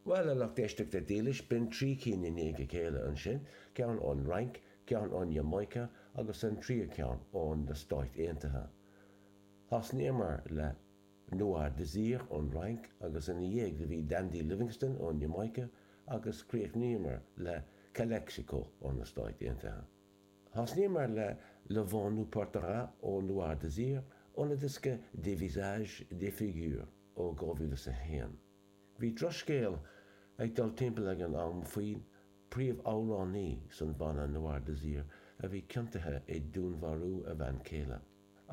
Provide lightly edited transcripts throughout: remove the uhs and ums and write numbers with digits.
Bhuel, a lucht éisteachta dílis, b'in 3 cinn i ndiaidh a chéile ansin, ceann ón Fhrainc, ceann ón Iamáice agus an tríú ceann ó na Stáit Aontaithe. Thosnaíomar le Noir Désir ón Fhrainc agus ina dhiaidh do bhí Dandy Livingstone ón Iamáice agus chríochnaíomar le Calexico ó na Stáit Aontaithe. Thosnaíomar le Le Vent Nous Portera ó Noir Désir óna diosca Des Visages, Des Figures ó 2001. Bhí drochscéal ag dul timpeall ag an am faoin príomhamhránaí san bhanna Noir Désir a bhí ciontaithe i dúnmharú a bhean céile.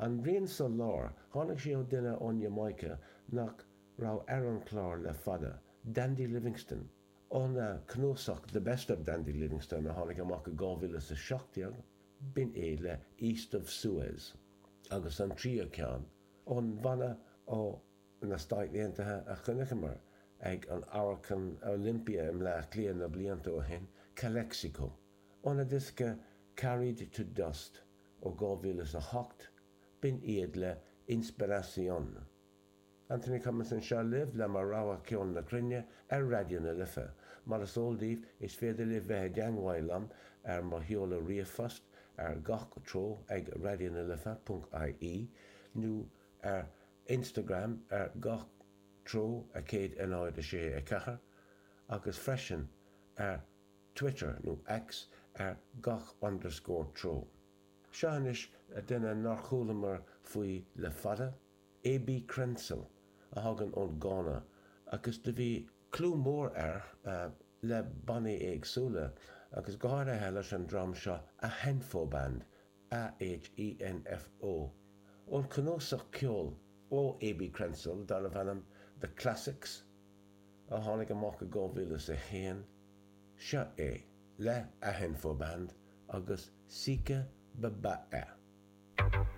An rian sa lár, tháinig sé ó duine ón Iamáice nach raibh ar an chlár le fada, Dandy Livingstone. Óna chnuasach The Best of Dandy Livingstone a tháinig amach i 2017, b'in é le East of Suez. Agus an tríú ceann, ón bhanna ó. na Stáit Aontaithe a chonaiceamar ag an Amharclann Olympia i mBleá Cliath na blianta ó shin, Calexico. Óna diosca Carried to Dust ó 2008, b'in iad le Inspiración. Anthony Cummins anseo libh le mo rogha ceol na cruinne ar Raidió na Life. Mar is eol daoibh, is féidir libh bheith i dteangmháil liom ar mo sheoladh ríomhphost ar gach treo ag raidionalife.ie nó ar Instagram ar gach treo 1 0 6 4 agus freisin ar Twitter nó X ar gach underscore treo. Seo anois duine nár chualamar faoi le fada, AB Crentsil, a thagann ón Gána agus do bhí clú mór air le bannaí éagsúla agus go háirithe leis an dream seo Ahenfo Band, A-H-E-N-F-O, ón chnuasach ceoil ó AB Crentsil darbh ainm The Classics a tháinig amach i 2001, seo é le Ahenfo Band agus Sika Ba Ba E.